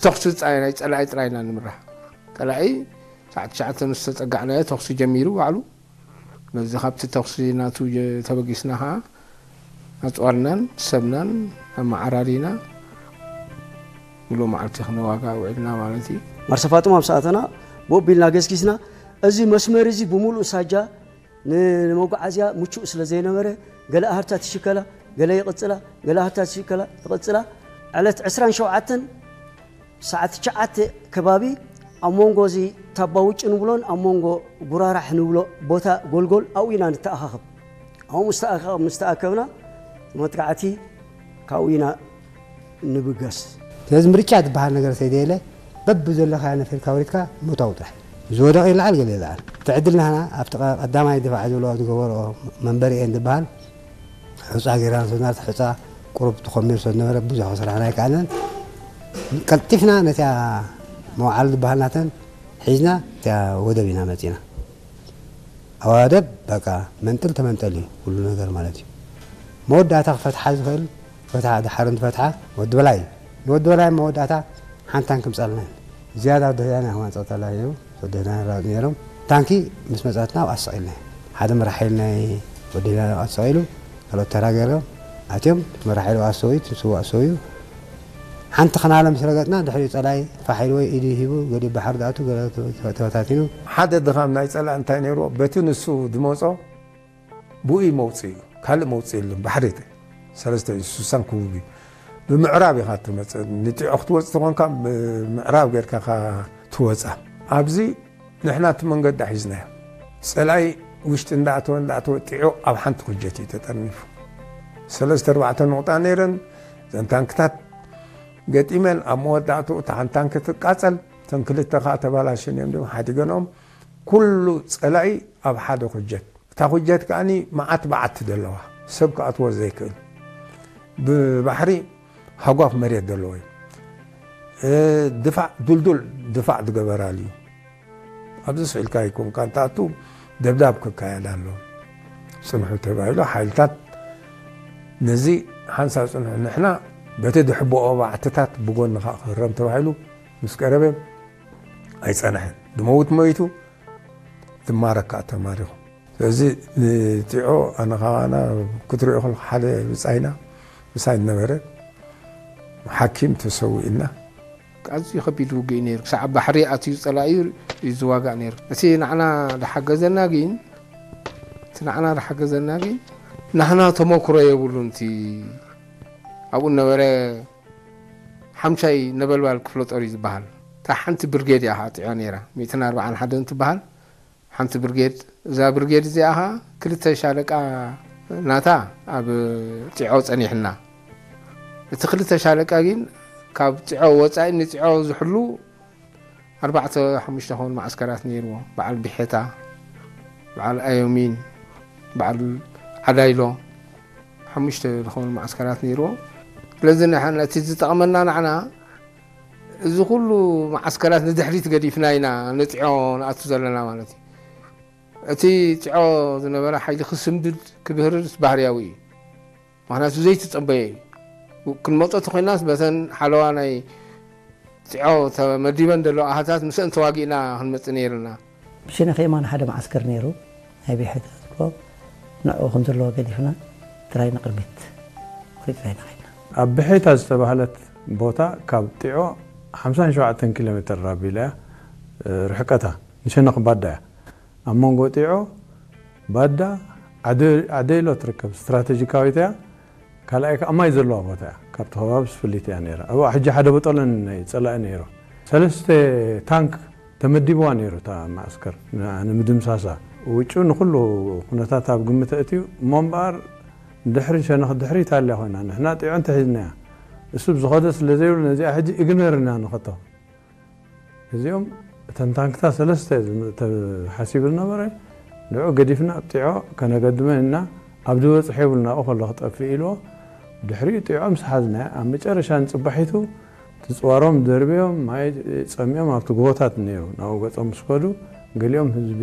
ተኹሲ ጥራይ፣ ናይ ጸላኢ ጥራይ ኢና ንምራሕ። ጸላኢ ሰዓት ትሽዓተ ምስ ተጸጋዕናዮ ተኹሲ ጀሚሩ ባዕሉ። በዚ ካብቲ ተኹሲ ናቱ ጀ-፣ ተበጊስና ኸዓ ኣጽዋርናን ሰብናን ኣመዓራሪና ሙሉእ መዓልቲ ክንዋጋእ ውዒልና ማለት እዩ። ማርሰ ፋጡማ ምስ ኣተና ብኡ ኣቢልና ገስጊስና፣ እዚ መስመር እዚ ብምሉእ ሳጃ ን-፣ ንመጓዓዝያ ምቹእ ስለ ዘይነበረ፣ ገለ ኣህርታት ይሽከላ፣ ገለ ይቕጽላ፣ ገለ ኣህርታት ይሽከላ፣ ይቕጽላ። ዕለት ዕስራን ሸውዓተን ሰዓት ትሽዓተ ከባቢ ኣብ መንጎ እዚ ታባ ውጭ ንብሎን ኣብ መንጎ ጉራራሕ ንብሎ ቦታ ጎልጎል ኣብኡ ኢና ንተኣኻኸብ። ኣብኡ ምስ ተኣኻ-፣ ምስ ተኣከብና መጥቃዕቲ ካብኡ ኢና ንብገስ። ስለዚ ምርጫ ዝበሃል ነገር ሰይደየለ በብዘለኻዮ ነፊርካ ወሪድካ ምእታው ጥራሕ። ዝወደቐ ይለዓል፣ ገለ ይለዓል። እቲ ዕድል ናህና ኣብቲ ቀ-፣ ቀዳማይ ድፋዕ ዝብሎ ዝገበርኦ መንበሪ እየን ዝበሃል ሑጻ ጌርና ንሰድና፣ እቲ ሑጻ ቁሩብ ተኾሚሩ ስለ ዝነበረ ብዙሕ ክስራሕና ኣይከኣልናን። ቀልጢፍና ነቲኣ መውዓሊ ዝበሃል ናተን ሒዝና እቲኣ ወደብ ኢና መጺና። ኣብ ወደብ በቃ መንጥል ተመንጠል እዩ ኩሉ ነገር ማለት እዩ። መወዳእታ ክፈትሓ ዝኽእል ፈትሓ፣ ድሓር እንትፈትሓ ወዲ በላይ እዩ። ንወዲ በላይ መወዳእታ ሓንቲ ታንኪ ምጻልና እዩ። ዝያዳ ወዲ ህዳና ይኹን ጸጥታ እዩ። ወዲ ህዳና ይራወጥ ነይሮም። ታንኪ ምስ መጻትና ኣብኣ ኣሰቒልና እዩ። ሓደ መራሒ ሓይሊ ናይ ወዲ ህዳና ኣብኣ ተሰቒሉ፣ ካልኦት ተራ ገይሮም ኣትዮም። መራሒ ሓይሊ ኣብኣ ኣሰውዩ፣ እቲ ስዉእ ኣሰውዩ። ሓንቲ ኸናለ ምስ ረገጽና፣ ድሕሪኡ ጸላኢ ፋሕ ኢሉ ወይ ኢዱ ሂቡ፣ ገሊኡ ባሕሪ ዝኣቱ፣ ገለ ተበታቲኑ። ሓደ ድኻም ናይ ጸላኢ እንታይ ነይርዎ? በቲ ንሱ ዝመጾ ብኡ መውጽኢ እዩ። ካልእ መውጽኢ የለን። ባሕሪ እቲ ሰለስተ እዩ፣ ስሳን ክቡብ እዩ። ብምዕራብ ኢኻ ትመጽእ። ንጢዖ ክትወጽእ ተኾንካ፣ ብምዕራብ ጌርካ ኢኻ ትወጻ። ኣብዚ ንሕና እቲ መንገዲ ሒዝናዮ። ጸላኢ ውሽጢ እንዳኣተወ፣ እንዳኣተወ ጢዖ ኣብ ሓንቲ ኩጀት እዩ ተጠርኒፉ። ሰለስተ ኣርባዕተ ንቑጣ ነይረን። እዘን ታንክታት ገጢመን ኣብ መወዳእትኡ እታ ሓንቲ ታንክ ትቃጸል፣ እተን ክልተ ከኣ ተባላሽን እዮም፣ ድም ሓዲገንኦም። ኩሉ ጸላኢ ኣብ ሓደ ኩጀት። እታ ኩጀት ከኣኒ መዓት በዓቲ ዘለዋ፣ ሰብ ክኣትዎ ዘይክእል። ብባሕሪ ሃጓፍ መሬት ዘለዎ እዩ። እ፣ ድፋዕ፣ ዱልዱል ድፋዕ ዝገበራሉ እዩ። ኣብዚ ስኢልካ ይኮንካ፣ እንተኣቱ ደብዳብ ክካየድ ኣሎ። ጽንሑ ተባሂሉ፣ ሓይልታት ነዚ ሓንሳብ ጽንሑ፣ ንሕና በቲ ድሕብኦ ባዕትታት ብጎንኻ ክህረም ተባሂሉ ምስ ቀረበ ኣይጸንሐን። ዝመውት መይቱ፣ ዝማረክ ከኣ ተማሪኹ። ስለዚ ንጢዖ ኣነ ኻባና ክትሪኦ ከለኻ ሓደ ብጻይና ምሳይ ነበረ፣ ሓኪም ተሰዊእና። ኣዝዩ ከቢድ ውግእ እዩ ነይሩ። ክሳዕ ባሕሪ ኣትዩ ጸላኢ እዩ ዝዋጋእ ነይሩ። እቲ ንዓና ዝሓገዘና ግን፣ እቲ ንዓና ዝሓገዘና ግን፣ ናህና ተመክሮ የብሉን። እቲ ኣብኡ ነበረ ሓምሻይ ነበልባል ክፍለ ጦር እዩ ዝበሃል። እታ ሓንቲ ብርጌድ እያ ኸዓ ጢዖ ነይራ። ሚእትን ኣርባዓን ሓደን ትበሃል። ሓንቲ ብርጌድ፣ እዛ ብርጌድ እዚኣ ኸዓ ክልተ ሻለቃ ናታ ኣብ ጢዖ ጸኒሕና። እቲ ክልተ ሻለቃ ግን ካብ ጢዖ ወጻኢ ንጢዖ ዝሕሉ ኣርባዕተ ሓሙሽተ ኸውን መዓስከራት ነይርዎ። በዓል ቢሔታ፣ በዓል ኣዮሚን፣ በዓል ዓዳይሎ፣ ሓሙሽተ ዝኾኑ መዓስከራት ነይርዎ። ስለዚ ንሕና እቲ ዝጠቕመና ንዓና እዚ ኩሉ መዓስከራት ንድሕሪት ገዲፍና ኢና ንጢዖ ንኣቱ ዘለና ማለት እዩ። እቲ ጢዖ ዝነበረ ሓይሊ ክስምብድ ክብህርርስ ባህርያዊ እዩ። ምኽንያቱ ዘይተጸበየ እዩ። ክንመጾ ተኾይናስ በተን ሓለዋ ናይ ጢዖ ተመዲበን ዘለዋ ኣሃታት ምስአን ተዋጊእና ክንመጽእ ነይርና። ብሸነኽ የማን ሓደ መዓስከር ነይሩ፣ ናይ ብሔታ ዝብሎ፣ ንዕኡ ከም ዘለዎ ገዲፍና ጥራይ ንቕድሚት ቆሪጽና ኢና ኸድና። ኣብ ብሔታ ዝተባህለት ቦታ ካብ ጢዖ ሓምሳን ሸውዓተን ኪሎ ሜትር ኣቢላ እያ፣ እ፣ ርሕቀታ። ንሸነኽ ባዳ እያ። ኣብ መንጎ ጢዖ፣ ባዳ፣ ዓደ-፣ ዓደይሎ ትርከብ ስትራተጂካዊት እያ። ካልኣይ ከኣ ማይ ዘለዋ ቦታ እያ። ካብቲ ከባቢ ስፍሊት እያ ነይራ። ኣብኣ ሕጂ ሓደ በጠሎን ናይ ጸላኢ ነይሩ። ሰለስተ ታንክ ተመዲብዋ ነይሩ እታ መዓስከር ን-፣ ንምድምሳሳ። ውጩ ንኹሉ ኩነታት ኣብ ግምት ኣእትዩ እሞ እምበኣር ድሕሪ ሸነኽ ድሕሪት ኣልያ ኮይና ንሕና ጢዖ እንተሒዝናያ። እሱ ብዝኸዶ ስለ ዘይብሉ ነዚኣ ሕጂ ኢግነር ኢና ንኸቶ። እዚኦም እተን ታንክታት ሰለስተ ዝም-፣ ተሓሲቡ ዝነበረ ንዑ ገዲፍና ኣብ ጢዖ ከነገድመን እና ኣብ ዝበጽሖ የብልና ኣብኡ ከሎ ክጠፍእ ኢልዎ ድሕሪኡ ጢዖ ምስ ሓዝና ኣብ መጨረሻ ንጽባሒቱ ትጽዋሮም ደርብዮም ማይ ጸሚኦም ኣብቲ ጎቦታት ነይሩ ናብኡ ገጾም ምስ ከዱ ገሊኦም ህዝቢ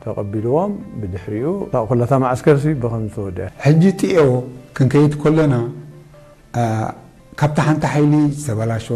ተቐቢልዎም ብድሕሪኡ እታ ኩላታ መዓስከርሲ ብኸም ዝተወድአ። ሕጂ ጢዖ ክንከይድ ከለና፣ አ፣ ካብታ ሓንቲ ሓይሊ ዝተበላሸወ